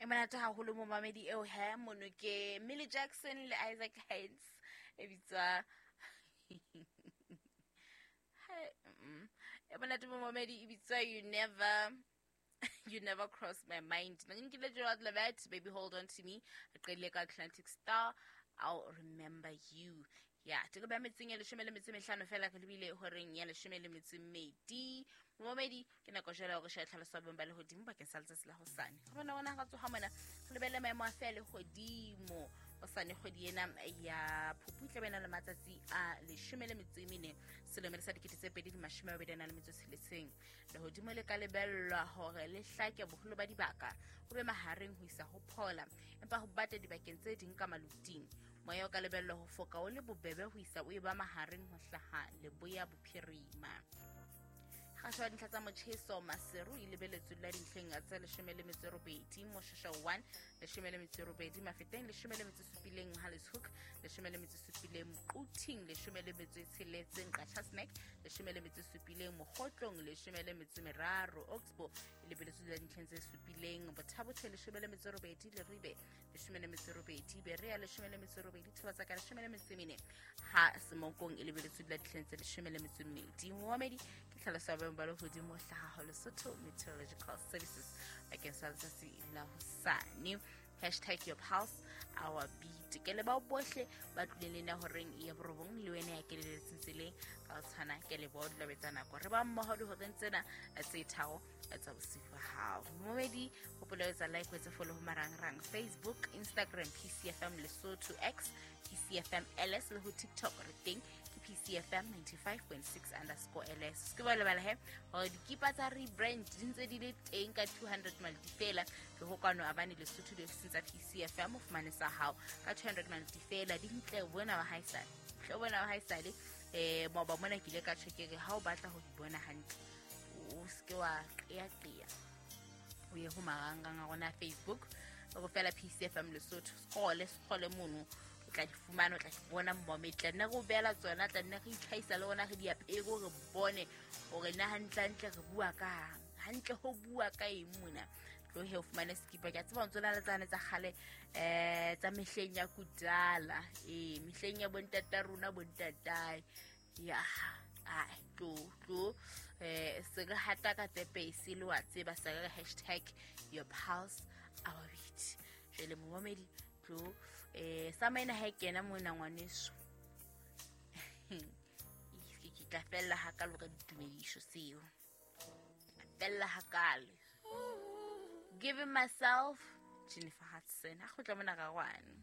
E monate haholo momamedi eo he mono ke Millie Jackson le Isaac Hayes e bitswa e monate momamedi e bitswa You Never Cross My Mind. Na nkile Gerald Levett, Baby Hold On To Me. Re qedile ka Atlantic Star, I'll Remember You. Ya teko ba metseng ya 15 fela re lebile horeng ya 12. Momamedi, ke nako jwale hore shebe tlhaloso ya boemo ba lehodimo bakeng sa letsatsi la hosane. Re bona rona ra tsoha mona, re lebelle maemo a fe a lehodimo hosane. Kgwedi ena ya Phupu e tlabe e na le matsatsi a 14 selemo sa 2026. Lehodimo le ka lebellwa hore le hlake boholo ba dibaka, ho be mahareng ho isa ho phola, empa ho bata dibakeng tse ding ka maluting. Moya o ka lebellwa ho foka o le bobebe ho isa o e ba mahareng ho hlaha leboya bophirima. Kgaso ya dintlha tsa motjheso: Maseru e lebeletswe la dintlheng tse 18, Moshasha 1 18, Mafeteng 17, Mohale's 17, Quthing 16, Qacha's Nek 17, Mokhotlong 13, Oxbow e lebeletswe la dintlheng tse 7, Botha-Bothe 18, Leribe 18, Berea 18, Thobatsaka 14, ha Semonkong e lebeletswe la dintlheng tse 12. Momamedi, ke tlhaloso ya boemo ba lehodimo hlaha ho Lesotho Meteorological Services bakeng sa letsatsi la hosane. #YourPulseOurBeat. Ke le bao bohle ba tlileng le nna horeng ya 9, le wena ya keleletseng tseleng ka ho tshwana, ke le bao dula betsa nako re ba mmoho dihoreng tsena tse 3 tsa bosiu ba hao. Momedi, hopola etsa like, o etse follow ho marangrang: Facebook, Instagram, PCFM Lesotho, X, PCFM LS, le ho TikTok re teng ke PCFM 95.6_LS. Se ke ba lebala he hore dikipa tsa rebrand di ntse di le teng ka 200 malti fela. Ke ho kwano abane Lesotho diofising tsa PCFM, o fumane sa hao ka 200 malti fela. Di ntle bona wa haesale, tle bona wa haesale. Maoba mona ke ile ka tjho ke re ha o batla ho di bona hantle, o seke wa qeaqea, o ye ho marangrang a rona, Facebook o fela PCFM Lesotho, scroll scroll mono, o tla di fumana, o tla di bona mmome. Tla nne re o beela tsona, tla nne re itlhahisa le rona, re di apere, re bone hore na hantlentle re bua kang, hantle ho bua ka eng mona. Tlohe o fumane sekipa. Ke a tseba o ntse o na le tsane tsa kgale, tsa mehleng ya kudala, ee, mehleng ya bontata rona, bontatae ya. Ai, tlo tlo se re hata ka tepese le wa tseba, se re #YourPulseOurBeat. Jwale momamedi, tlo sa maina ha e kena mona ngwaneso, ke tla fella hakalo ka ditumedišo seo fella hakale. Giving Myself, Jennifer Hudson, a kgutla mona ga gwane.